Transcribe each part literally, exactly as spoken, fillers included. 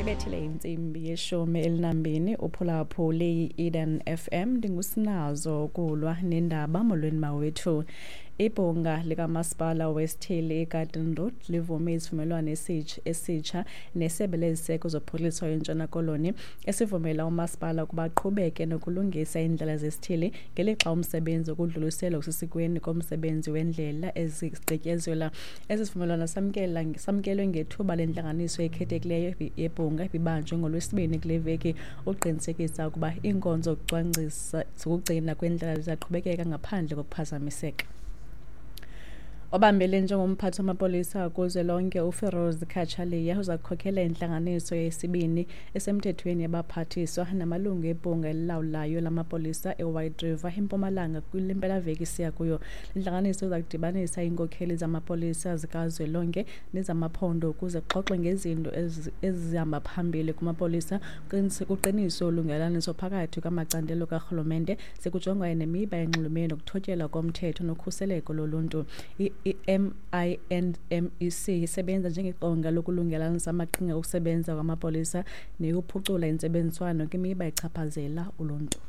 Ibethile intsimbi yeshumi elinambini uphulaphule i-Eden F M. Ndingusinazo kulwa nendaba. Molweni mawethu. Ibhunga likamasipala wesithili iGarden Road livume isivumelwano esitsha nesebe leziseko zophuhliso eNtshona Koloni esivumela umasipala ukuba aqhubeke nokulungisa iindlela zesithili ngelixa umsebenzi wokudluliselwa kusesikweni komsebenzi wendlela ezigqityezelwa. Esi sivumelwano samkela samkelwe ngethuba lentlanganiso ekhethekileyo yebhunga ibibanjwe ngoLwesibini kule veki uqinisekisa ukuba iinkonzo zokucwangcisa zokugcina kwendlela ziyaqhubekeka ngaphandle kokuphazamiseka. Obambele njengomphathi wamapolisa kuzwelonke uFiroz Cachalia uza kukhokela intlanganiso yesibini esemthethweni yabaphathiswa namalungu ebhunga elilawulayo lamapolisa eWhite River eMpumalanga kule mpelaveki siya kuyo. Le ntlanganiso iza kudibanisa iinkokheli zamapolisa zikazwelonke nezamaphondo ukuze kuxoxwe ngezinto ezihamba phambili kumapolisa, kuqiniswe ulungelelaniso phakathi kwamacandelo karhulumente, sekujongwa nemiba enxulumene nokuthotyelwa komthetho nokhuseleko loluntu. I M I N M E C isebenza njengeqonga lokulungelanisa amaqhinga okusebenza kwamapolisa neyokuphucula intsebenziswano kwimiba echaphazela uluntu.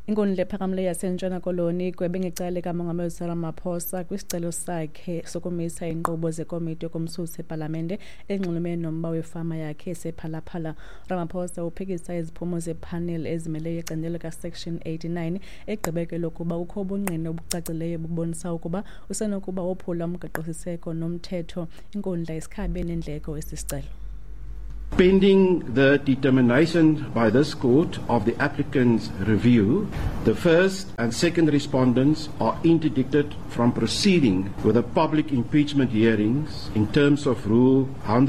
Inkundla ephakamileyo yaseNtshona Koloni igwebe ngecala likaMongameli Cyril Ramaphosa kwisicelo sakhe sokumisa iinkqubo zekomiti yokumsusa epalamente enxulumene nomba wefama yakhe esePhalaphala. Ramaphosa uphikisa iziphumo zephaneli ezimeleyo yecandelo kaSection eighty-nine egqibe kwelokuba kukho ubungqina obucacileyo bubonisa ukuba usenokuba wophula umgaqosiseko nomthetho. Inkundla isikhabe neendleko esi sicelo. Pending the determination by this court of the applicant's review, the first and second respondents are interdicted from proceeding with the public impeachment hearings in terms of Rule one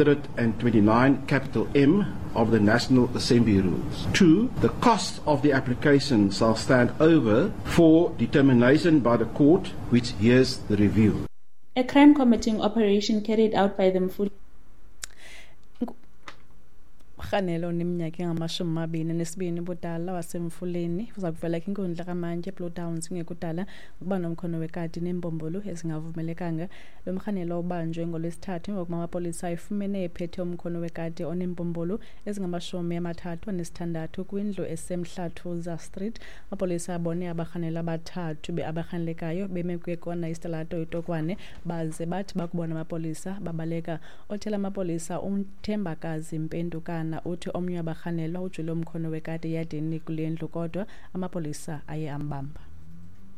twenty-nine capital M of the National Assembly Rules. Two, the cost of the application shall stand over for determination by the court which hears the review. A crime committing operation carried out by the Mfuleni Rhanelo neminyaka engamashumi amabini nesibini ubudala waseMfuleni uza kuvela kwinkundla kaMantyi eBlue Downs kungekudala ngokuba nomkhono wekati neembombolo ezingavumelekanga. Lo mrhanelo ubanjwe ngoLwesithathu emva kokuba amapolisa efumene ephethe umkhono wekati oneembombolo ezingamashumi amathathu anesithandathu kwindlu eseMhlathuza Street. Amapolisa abone abarhanelwa abathathu abarhanelekayo beme kwikona isitalato iTokwane baze bathi bakubona amapolisa babaleka. Othela amapolisa uThembakazi Mpendukana uthi omnye wabarhanelwa ujule umkhono wekati eyadini kule ndlu kodwa amapolisa aye ambamba.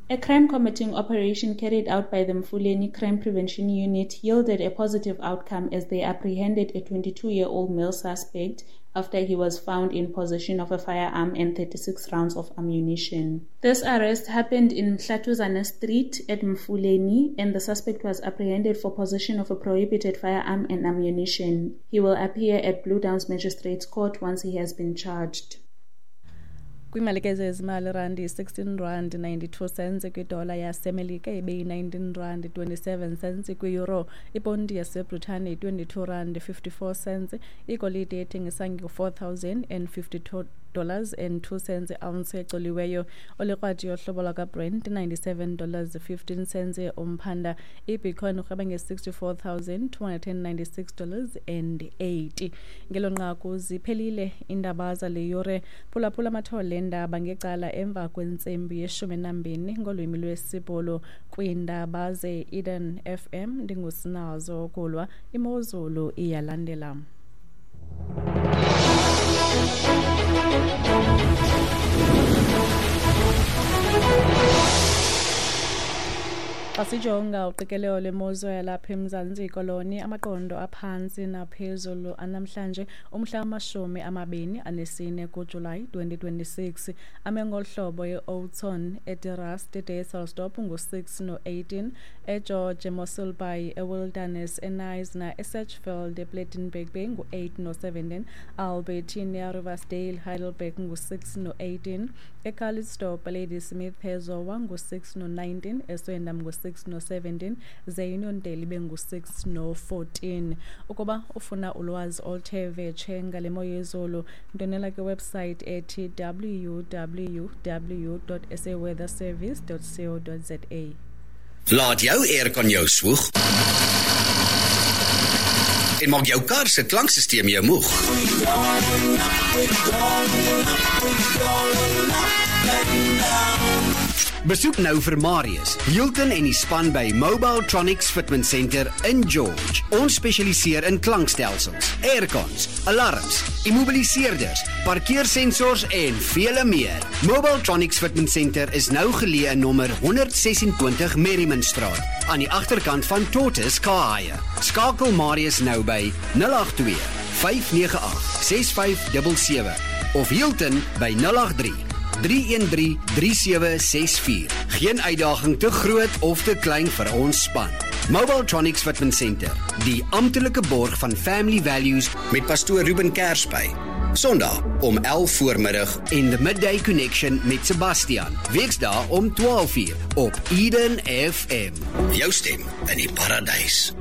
A crime committing operation carried out by the Mfuleni Crime Prevention Unit yielded a positive outcome as they apprehended a twenty-two-year-old male suspect after he was found in possession of a firearm and thirty-six rounds of ammunition. This arrest happened in Mhlatuzana Street at Mfuleni, and the suspect was apprehended for possession of a prohibited firearm and ammunition. He will appear at Blue Downs Magistrates Court once he has been charged. Kwimalike zezimali, randi sixteen rand ninety-two cents kwidola yaseMelika ibeyi-nineteen rand twenty-seven cents kwi-euro. Iponti yaseBritane twenty-two rand fifty-four cents. Igolide ethengisa nge-four thousand and fifty-two dollars and two cents ounce ecoliweyo. Olikrwadi yohlobo lwakwaBrent ninety-seven dollars fifteen cents umphanda. IBitcoin urhweba nge-sixty-four thousand two hundred and ninety-six dollars and eighty. Ngelo nqaku ziphelile iindaba zale yure. Phulaphula amathole endaba ngecala emva kwentsimbi yeshumi nambini ngolwimi lwesiBhulu kwiindaba ze-Eden F M. Ndingusinazo Kulwa. Imozulu iyalandela. Xa sijonga uqikelelo lwemozulu yalapha eMzantsi Koloni, amaqondo aphantsi naphezulu anamhlanje umhla wamashumi amabini anesine kuJulayi twenty twenty-six ame ngolu hlobo: eOudtshoorn, eDeRust, eDysselsdorp ngu-six no-eighteen, eGeorge, eMossel Bay, eWilderness, eKnysna, eSedgefield, ePlettenberg Bay ngu-eight no-seventeen, Albertina, Riversdale, Heidelberg ngu-six no-eighteen, eCalitzdorp, Ladysmith, eZowa ngu-six no-nineteen, eSwendam ngu-six no-seventeen, ze Uniondale ibe ngu-six no-fourteen. Ukuba ufuna ulwazi oluthe vetshe ngale mo yezulu, ndonela kwiwebsite ethi w w w dot s a weather service dot co dot z a. Laat jou aircon jou swoeg En maak jou kar se klankstelsel jou moeg. Besoek nou vir Marius, Hilton en die span by Mobiletronics Fitment Center in George. Ons spesialiseer in klankstelsels, aircons, alarms, immobiliseerders, parkeersensors en vele meer. Mobiletronics Fitment Center is nou geleë in nommer honderd ses-en-twintig Merriman Straat, aan die agterkant van Tortoise Car Hire. Skakel Marius nou by nul agt twee, vyf nege agt, ses vyf sewe sewe of Hilton by nul agt drie, drie een drie, drie sewe ses vier. Geen uitdaging te groot of te klein vir ons span. Mobiletronics Fitment Center, die amptelike borg van Family Values met pastoor Ruben Kersby. Sondag om elf voormiddag en The Midday Connection met Sebastian. Weksdae om twaalf uur op Eden F M. Jou stem in die paradys.